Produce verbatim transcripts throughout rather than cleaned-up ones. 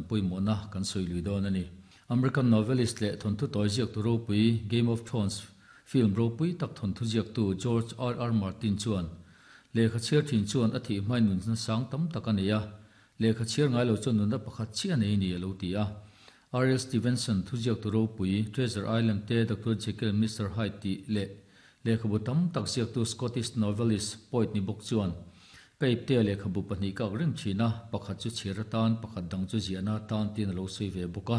pawimawhna kan sawi lui dawn a ni. American novelist leh thawnthu tawi ziaktu ropui Game of Thrones film ropui tak thawnthu ziaktu George R R Martin chuan lehkha chhiar thin chuan a thih hmain nunna sang tam tak a nei a, lehkha chhiar ngai lo chuan nunna pakhat chiah a nei ni a lo ti a. R L Stevenson thu ziaktu ropui Treasure Island te Doctor Jekyll and Mister Hyde tih leh lehkhabu tam tak ziaktu Scottish novelist poet ni bawk chuan ka iptea lehkhabu pahnih ka ak reng thin a, pakhat chu chhiar atan pakhat dang chu ziahna atan tiin a lo sawi ve bawk a.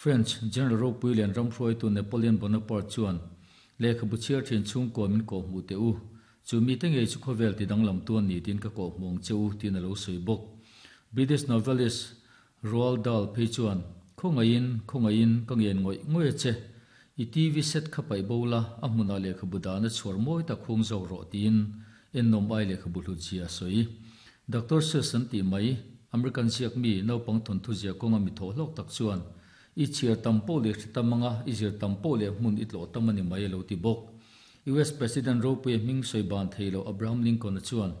French General ropui lian ram hruaitu Napoleon Bonaparte chuan lehkhabu chhiar thin chhungkaw min kawh hmuh teh u, chu mite ngei chu khawvel ti danglam tu an ni tiin ka kawh hmuh ang che u tiin a lo sawi bawk. British novelist Roald Dahl phei chuan Khawngaihin, khawngaihin ka ngen ngawih ngawih a che, i T V set kha paih bo la, a hmunah lehkhabu dahna chhuar mawi tak hung zawk rawh tiin ennawm ai lehkhabu hlut zia a sawi. Doctor Seuss an tih mai, American ziak mi naupang thawnthu zia kawnga mi thawh hlawk tak chuan i chhiar tam pawh leh hre tam anga i zir tam pawh leh hmun i tlawh tam a ni mai a lo ti bawk. U S President ropuia hming sawi ban thei lo Abraham Lincoln-a chuan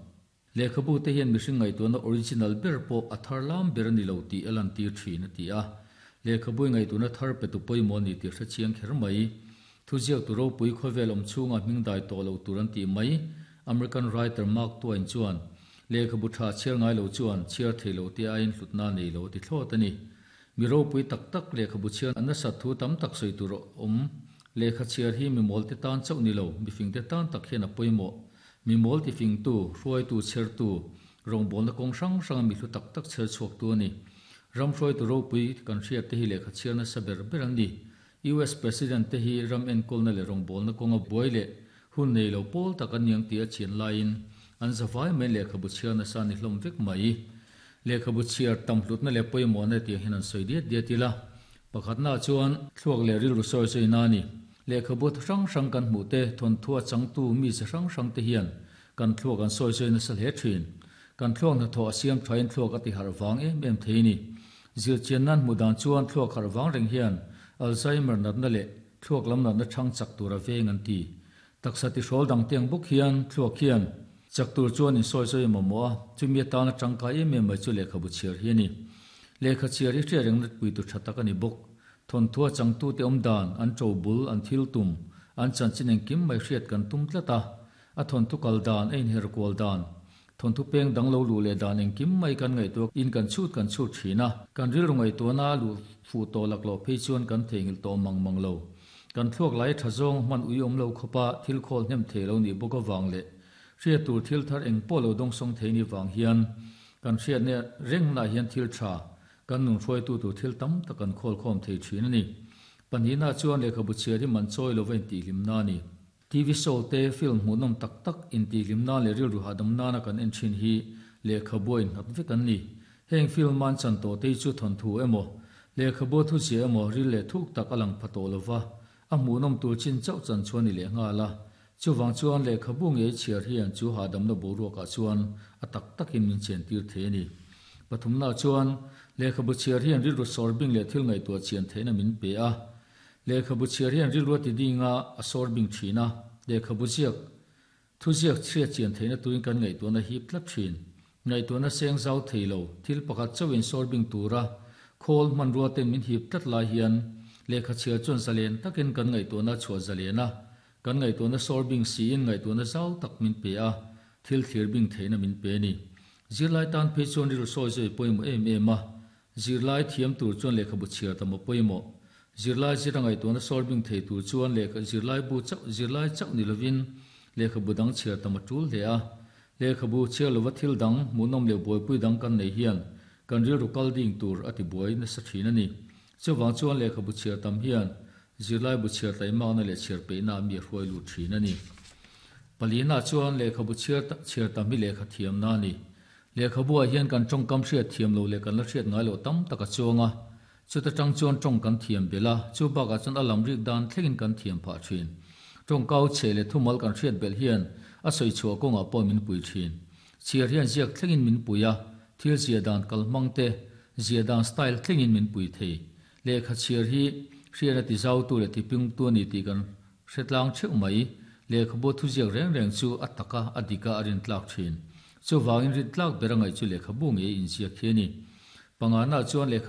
lehkhabu te hian mihring ngaihtuahna original ber pawh a thar lam ber a ni lo tih a lantir thin a ti a. Lehkhabu ngaihtuahna thar pe tu pawimawh a ni tih hre chiang kher mai. Thuziaktu ropui khawvel awm chhunga hming dai tawh lo tur an tih mai. American writer Mark Twain chuan lehkhabu tha chhiar ngai lo chuan chhiar thei lo te aiin hlutna nei lo a ti thlawt a ni. Mi ropui tak tak lehkhabu chhiar an nasat thu tam tak sawi tur a awm. Lehkha chhiar hi mi mawl te tan chauh ni lo, mifing te tan tak hian a pawimawh. Mi mawl tifingtu, hruaitu chhertu, rawngbawlna kawng hrang hranga mi hlu tak tak chher chhuaktu a ni. Ram hruaitu ropui kan hriat te hi lehkha chhiar nasa ber ber an ni. U S President te hi ram enkawlna leh rawngbawlna kawnga buai leh hun nei lo pawl tak an niang tih a chian laiin an zavai mai lehkhabu chhiar nasa ni hlawm vek mai. Lehkhabu chhiar tam hlutna leh pawimawhna tiang hian an sawi diat diat ila. Pakhatna chuan thluak leh rilru sawi sawi na a ni. Lehkhabu hrang hrang kan hmuh te, thawnthu a changtu mi chi hrang hrang te hian kan thluak an sawi sawi nasa hle thin. Kan thluak hnathawh a siam thain thluak a ti harh vang em em thei ni. Zirchian nan hmuh dan chuan thluak harh vang reng hian Alzheimer natna leh thluak lam natna chang chak tur a veng an ti. Taksa ti hrawl dang tiang bawk hian thluak hian chak tur chuan insawi sawi mamawh a, chumi atana tangkai em em mai chu lehkhabu chhiar hi a ni. Lehkha chhiar hi hriat reng natpui tur tha tak a ni bawk. Thawnthu a changtute awm dan, an to bul, an thil tum, an chanchin engkim mai hriat kan tum tlat a. A thawnthu kal dan, a inher kual dan, thawnthu peng dang lo luh leh dan engkim mai kan ngaihtuah in kan chhut kan chhut thin a. Kan rilru ngaihtuahna a luh fuh tawh lak loh phei chuan kan theihnghilh tawh mang mang lo. Kan thluak lai tha zawng hman ui awm lo khawpa thil khawl hnem thei lo nih bawk avang leh hriat tur thil thar eng pawh lo dawngsawng thei ni vang hian kan hriatna rengnaah hian thil tha kan nun hruaitu tur thil tam tak kan khawl khawm thei thin a ni. Pahnihna chuan lehkhabu chhiar hi man chawi lova intihhlimna a ni. T V show te film hmuhnawm tak tak intihhlimna leh rilru hahdam nana kan en thin hi lehkhabu a innghat vek an ni. Heng film an chan tawh te hi chu thawnthu emaw, lehkhabu a thuziah emaw ril leh thuk tak a lang pha tawh lova, a hmuhnawm tur chin chauh chan chuan ni leh nghal a. Chuvang chuan lehkhabu ngei chhiar hian chu hahdamna boruakah chuan a tak takin min chentir thei a ni. Pathumna chuan lehkhabu chhiar hian rilru sawr bing leh thil ngaihtuah chian theihna min pe a. Lehkhabu chhiar hian rilru a ti dinga a sawr bing thin a, lehkhabu ziak thuziak chhiat chian theihna turin kan ngaihtuahna hip tlat thin. Ngaihtuahna seng zau thei lo, thil pakhat chauhin sawr bing tura khawl hmanrua ten min hip tlat lai hian lehkha chhiar chuan zalen takin kan ngaihtuahna chhuah zalen a, kan ngaihtuahna sawr bing siin ngaihtuahna zau tak min pe a, thil thlir bing theihna min pe a ni. Zirlai tan phei chuan rilru sawi zawi pawimawh em em a, zirlai thiam tur chuan lehkhabu chhiar tam a pawimawh. Zirlai zira ngaihtuahna sawr bing thei tur chuan lehkha zirlai bu chauh zirlai chauh ni lovin lehkhabu dang chhiar tam a tul hle a. Lehkhabu chhiar lova thil dang hmuhnawm leh buaipui dang kan nei hian kan rilru kal ding tur a ti buai nasa thin a ni. Chuvang chuan lehkhabu chhiar tam hian zirlai bu chhiar taimakna leh chhiar peihna mi a hruai lut thin a ni. Palina chuan lehkhabu chhiar chhiar tam hi lehkha thiamna a ni. Lehkhabuah hian kan tawngkam hriat thiam lo leh kan la hriat ngai loh tam tak a chuang a. Chuta tang chuan tawng kan thiam belh a, chu bakah chuan a lam rik dan thlengin kan thiam phah thin. Tawngkau chhe leh thumal kan hriat belh hian a sawi chhuah kawngah pawh min pui thin. Chhiar hian ziak thlengin min pui a, thil zia dan kalhmang te, zia dan style thlengin min pui thei. Lehkha chhiar hi hriatna ti zautu leh ti pingtu a ni tih kan hretlang theuh mai. Lehkhabu thuziak reng reng chu a taka a dika a rintlak thin. Chuvangin rintlak ber a ngaih chu lehkhabu ngei inziak hi a ni. Pangana chuan lehkha